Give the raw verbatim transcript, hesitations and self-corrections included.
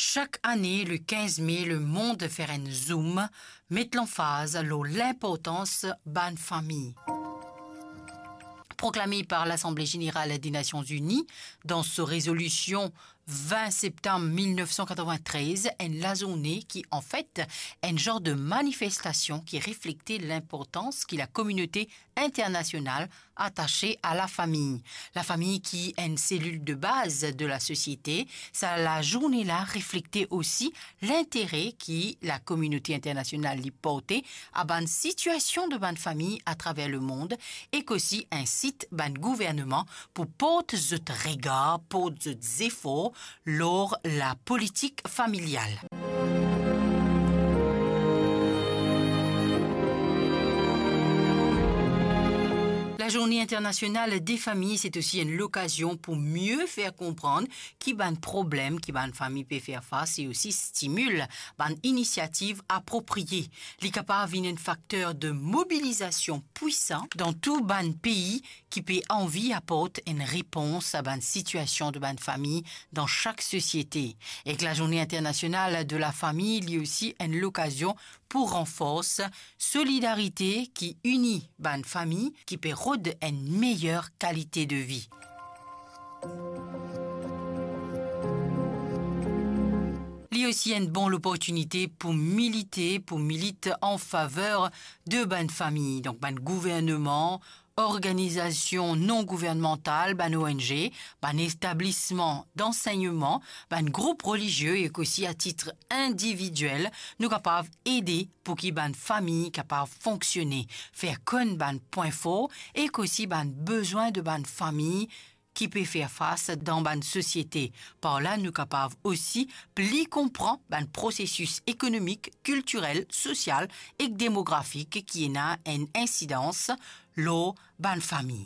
Chaque année, le quinze mai, le monde fait un zoom, met lanfaz lor linportans bann fami. Proclamé par l'Assemblée générale des Nations Unies dans sa résolution vingt septembre mil nef san katrovin-trez, enn lazourne ki, anfet, enn zar de manifestasion ki reflekte linportans ki lakominote internasional atase a lafami. Lafami ki enn selil de baz de lasosiete, sa lazourne la reflekte osi lintere ki lakominote internasional li porte a bann sitiasion de bann fami atraver lemond, ek osi insit bann gouvernman pou port zot regar, port zot zefor lor lapolitik familial. Lazourne internasional de fami, se osi enn lokazion pou mie fer konpran ki bann problem ki bann fami pe fer fas e osi stimil bann inisiativ apropriye. Li kapav vinn enn fakter de mobilizasion pwisan dan tou bann pei ki pe anvi aport enn repons a bann sitiasion de bann fami dan sak sosiete. Ek Lazourne internasional de lafami, li osi enn lokazion pou ranfors solidarite ki ini bann fami ki pe rod enn meyer kalite de vi. Li osi enn bon loportinite pou milite, pou milit an faver de bann fami. Donk, bann gouvernman, organizasion non gouvernmantal, bann O N G, bann etablisman dansegnman, bann group relizie ek osi a tit individiel, nou kapav ede pou ki bann fami kapav fonksione, fer konn bann pwin for ek osi bann bezwin de bann fami ki pe fer fas dan bann sosiete. Par la, nou kapav osi pli konpran bann prosesis ekonomik, kiltirel, sosial ek demografik ki ena enn insidans lor bann fami.